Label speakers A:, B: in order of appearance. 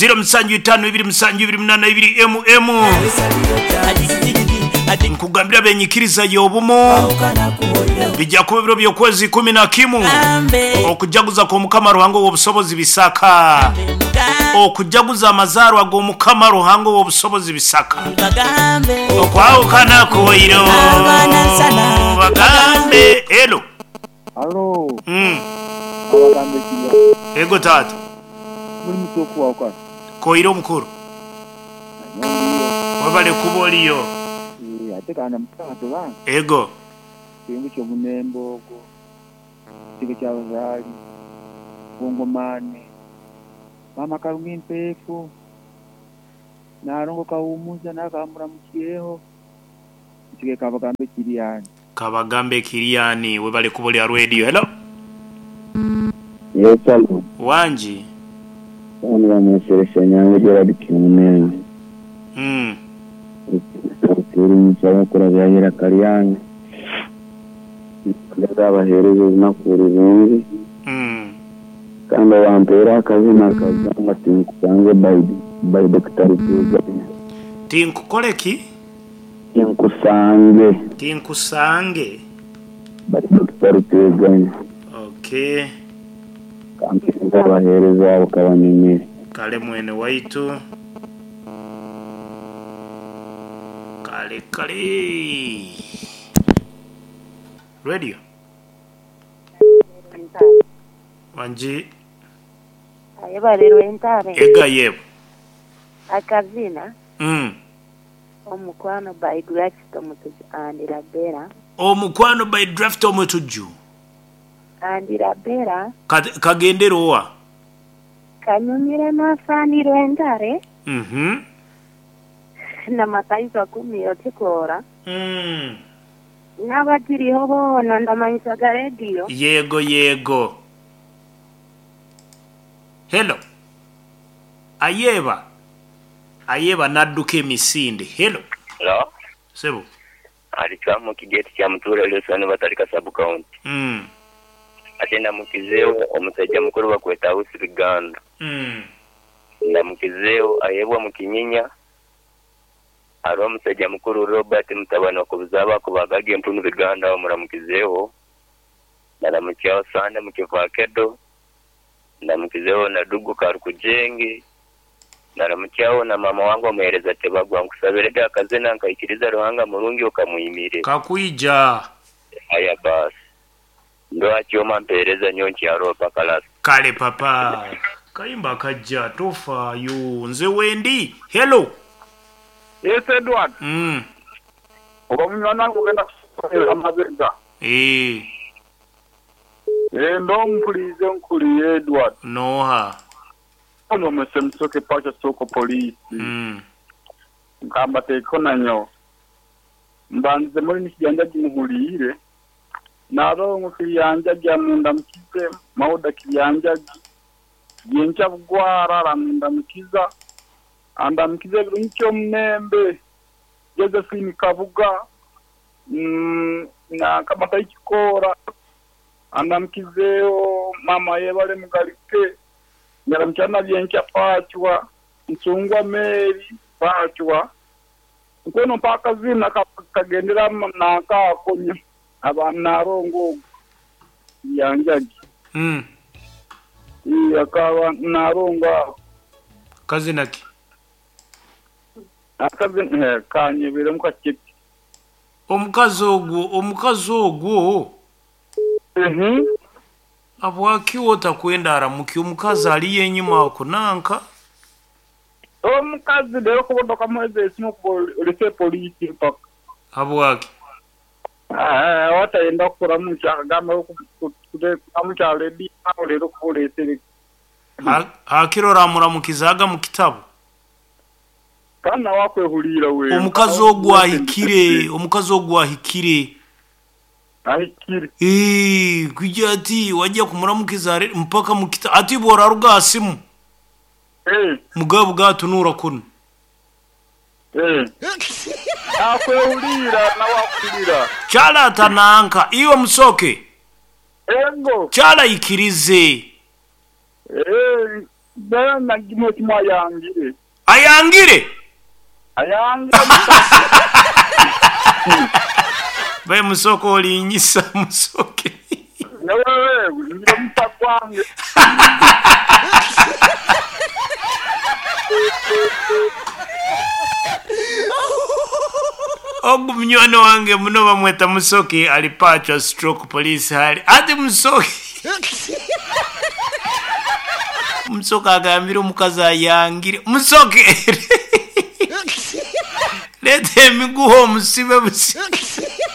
A: 0752 7 82 MM. Nkugambira abenyikiriza y'obumu bija kuba ebiro by'okwezi 11 okujaguza kw'Omukama Ruhanga ow'obusobozi Bisaka. Okujaguza amazaarwa g'Omukama Ruhanga ow'obusobozi Bisaka. Okwahukana kuwaire bagambe. Hello.
B: Halo. Abagambe kirya.
A: Ego taata.
B: Buli muti okuwahukana.
A: Koire omukuru.
B: Nanyowe ndiyo.
A: Webale kuba oliyo.
B: Eeh ate kandi mutaata bange.
A: Ego.
B: Ekintu kyomunembe ogwo, ekitebe kya bazaali, Bungomane, Maama Karungi Mpeefu, Nalongo Kahumuza nawe kamuramukyeho, ekisigaire kabagambe Kiriani.
A: Kabagambe Kiriani webale kuba oli aha radio. Hello.
C: Yes alo.
A: Wangi.
C: Bano bamwesere Ssenyange Gerald Kimunembe. Nsaba kurabya eiraka ryange nikugira abahereza olunaku rurungi kandi owampeire akazina akagamba tinkusange by Dokita Rutezanya.
A: Tinkukole ki?
C: Tinkusange.
A: Tinkusange.
C: By Dokita Rutezanya.
A: Okay.
C: Kampereze abahereza abo kabanyumire.
A: Kale mwene waitu. Kale kale. Radio. Wangi.
D: Ayebare Rwentare.
A: Ega yebo.
D: Akazina. Omukwano by Draft Omutujju and Rabera.
A: Omukwano by Draft Omutujju.
D: And Rabera.
A: Kagendere owa?
D: Kanyumire Nasani Rwentare. Na Mataifa Kumiro Kikoora. N'abakiriho boona ndamanyisaga rediyo.
A: Yego yego. Hello. Ayeeba. Ayeeba n'adduka emisinde. Hello.
E: Hello.
A: Sebo.
E: Ali Chwamu Kigeti kya Mutuura Lwesano Batalika Sub County. Ate ndamukizeegho omusaija mukulu bakweta Ausi Biganda. Ndamukizeegho ayebwa mu Kinyinya. Hariho omusaija mukulu Robert mutabani wa Kubuzaaba akubaagaga empunu Biganda agho muramukizeegho. Naramukyagho Sande mu Kivakedo. Ndamukizeegho na Dugu Karukujenge. Naramukyagho na maama wange omuheereza Tebagwa. Nkusabire ghe akazina nkaikiriza Ruhanga murungi okamwimire.
A: Kakwija.
E: Aya baasi. Ndwa kyoma mpeereza nyo nkyaroo paka last.
A: Kale papa. Kayimba kajja tofaayo nze wendi. Hello.
F: Yes Edward. Oba munywani wange ogenda kusoera amabega.
A: Eeh.
F: Eeh ndo mpuliize nkuliire Edward.
A: Nooha?
F: Ono Mwese Musoke Pacha Soko Poliisi. Nkamba teeko nanyowe. Mbandize muri ni Kijanjaji muhuliire. Nalongo Kiryanjaji amundamukize, Mauda Kiryanjaji, Byenkya Bugwara aramundamukiza, andamukize Birungi Kyomunembe, Josephine Kabuga, na Kamatai Kikoora, andamukizeeho Maama Yebale Mugalike, Nyaramukya na Byenkya Pacwa, Nsungwa Mary Pacwa, Nkono mpa akazina kagendera nanka ako aba Nalongo ogwo Byanjagi. Ii akaba Nalongo ako.
A: Kazina ki?
F: Akazina kanyebiremu kakye.
A: Omukazi ogwo, omukazi ogwo. Habwaki otakwenda aramuki omukazi aliyo enyima ako nanka?
F: Omukazi leero kuba okamuweza esimu kuba olese poliisi mpaka.
A: Habwaki?
F: Watayenda kukuramucha akagamba kuramucha ledi awo leero kuba olesere.
A: Hakiro oramuramukizaga mu kitabo.
F: Kandi nawe akwehuliira weena.
A: Omukazi ogwo ahikire, omukazi ogwo ahikire.
F: Ahikire.
A: Eeh, kwija ati waja kumuramukiza mpaka mu kitabo ati bw'oraruga aha simu. Mugabo gatunuura kunu.
F: Akwehuliira nawe akuhulira.
A: Kyala nanka iwe Musoke.
F: Ego.
A: Kyala ikirize.
F: Then agimwe kimwe ayangire.
A: Ayangire?
F: Ayangire.
A: Bae Musoke olinyisa Musoke.
F: Nyowe ngire omusa gwange.
A: Ogu munywani wange muno bamweta Musoke ali Pachwa stroke police hali ati Musoke. Musoke agambire omukazi ayangire. Musoke! Leeta emiguha omusibe busibe.